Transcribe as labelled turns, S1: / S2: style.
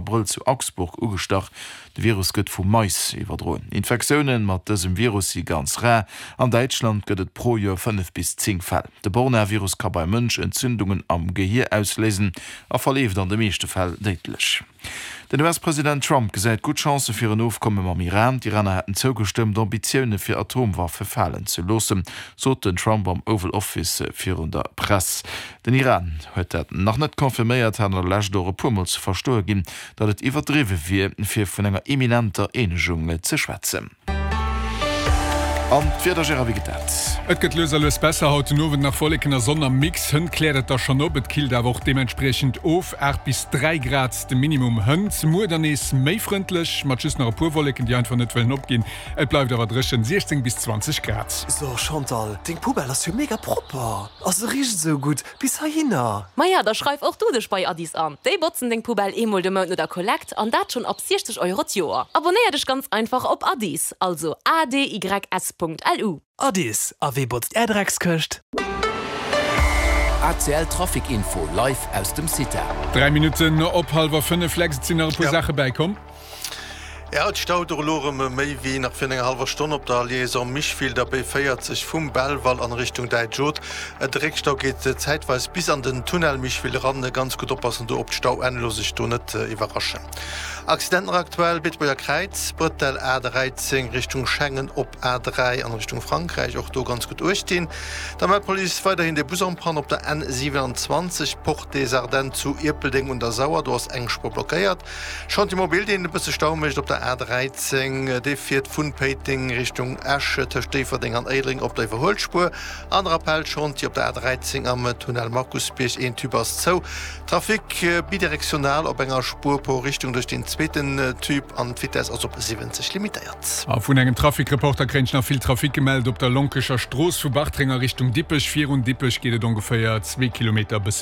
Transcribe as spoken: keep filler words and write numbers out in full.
S1: Abrëll zu Augsburg ugestach. De Virus gëtt vu Mais iwwerdroen. Infektioune mat dësem Virus si ganz rar. An Däitschland gëtt et pro Joer fënnef bis zéng Fäll. De Borna-Virus ka beim Mënsch Entzündungen am Gehier ausléisen a verleeft an de meeschte Fäll déidlech. Den U S-President Trump gesäit gutt Chancë fir en Ofkomme mam Iran. D'Iraner hätten zougestëmmt, Ambitioune fir Atomwaffe falen ze loossen, sot den Trump am Oval Office virun der Press. Den Iran huet dat nach net confirméiert, hat an der Lescht och e puer Mol ze verstoe ginn, datt et iwwerdriwwe wier, fir vun enger imminenter Eenegung ze schwätzen. An d'Wieder, Gérard, wéi geet dat?
S2: Et gëtt lues a lues besser, haut den Owend nach Wolleken a Sonn am Mix. Hënt kläert et da schonn op, et killt awer och deementspriechend of, aacht bis dräi Grad de Minimum hënt. Muer dann nees méi frëndlech, mat just nach e puer Wolleken, déi einfach net wëllen opginn. Et bleift awer dréchen, siechzéng bis zwanzeg Grad.
S3: So Chantal, deng Poubelle ass jo mega propper. A se richt esou gutt bis heihinner.
S4: Maja, da schreif och du dech bei Adys an. Déi botzen deng Poubelle eemol de Mount no der Kollekt an dat schonn ab siechzeg Euro d'Joer. Abonéier dech ganz einfach op Adys, also A D Y S Punkt L U.
S3: Adys, a wee botzt är Dreckskëscht?
S5: A C L Trafic Info live aus dem CITA.
S2: Dräi Minutten op hallwer fënnef, Lex, et sinn nach e puer
S6: Ja.
S2: Saache bäikomm.
S6: Ja, et staut och elo erëm méi wéi nach virun enger hallwer Stonn op der Liaison Micheville, der B véierzeg vum Belval an Richtung Däitsch Oth. De Réckstau geet zäitweis bis an den Tunnel Micheville eran. Ganz gutt oppassen do op d'Stauenn, looss sech do net iwwerraschen. Accident nach aktuell, Beetebuerger Kräiz, Brëttel A dräizéng Richtung Schengen op A dräi an Richtung Frankräich, och do ganz gutt uecht dinn. Da mellt d'Police weiderhin de Bus en panne op der N siewenanzwanzeg, Porte des Ardennes zu Ierpeldeng un der Sauer, do ass eng Spuer blockéiert. Chantier mobile, deen e bësse Stau mécht op der A dräizéng, dee fiert vun Péiteng Richtung Esch tëscht Déifferdeng an Éilereng op der Iwwerhuelspuer. An Rappel-Chantier op der A dräizéng am Tunnel Markusbierg, een Tube ass zou. Trafic bidirektional op enger Spuer pro Richtung duerch den zweeten Tube an d'Vitess ass op siwwenzeg limitéiert.
S2: A vun engem Trafic-Reporter kréien ech nach vill Trafic gemellt op der Lonkecher Strooss vu Bartreng a Richtung Dippech. Virun Dippech geet et ongeféier zwee Kilometer bësse